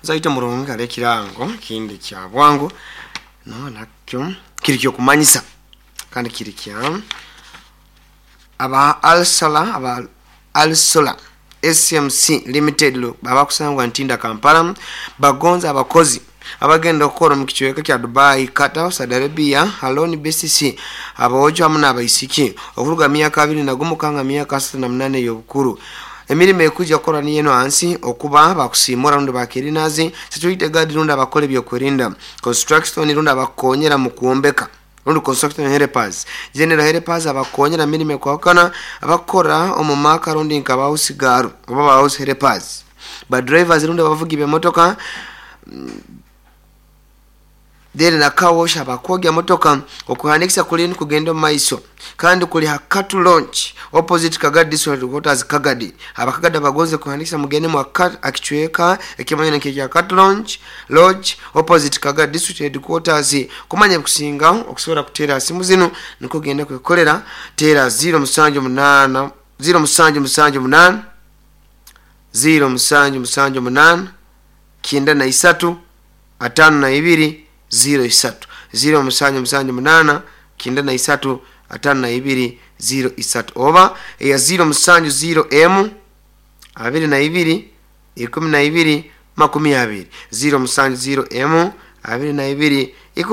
Zaito murungi hali ekirango kindi kya bwangu, no nakyo kiri kyokumanyisa kandi kiri kya aba Alsola, aba Alsola SMC Limited abakusangwa Ntinda Kampala bagonza abakozi abagenda okukora omu kicweka kya Dubai, Qatar, Saudi Arabia, Haloni BCC, aboojo hamu n'abaisiki okuruga myaka 21 kanga myaka 38 ey'obukuru. Emirimo ekuija kukora niyo eno hansi: okuba bakusimura rundi bakirinazi, security guard rundi abakora ebyokwerinda, construction rundi abakukonyera mu kwombeka rundi construction helpers, general helpers abakukonyera mirimo ekwahukana, abakukora omu maka rundi nka ba house girl oba ba house helpers, ba drivers rundi abavugi b'emotoka, then na car wash abakwogya motoka. Okuhandikisa kuli kugenda omu maiso kandi kuli ha Cattle Lodge opposite Kagadi District Headquarters, Kagadi. Abakagadi abagonze kuhandikisa, mugende mu akicweka ekimanyana nk'ekya Cattle Lodge opposite Kagadi District Headquarters. Kumanya kusinga okusobora kuteera simu zinu, nikwo genda kwekolera, teera 078 0778 0778 93 52 03, 0778 93 52 03, oba eya 070 m 22 12 20, 070 m 22.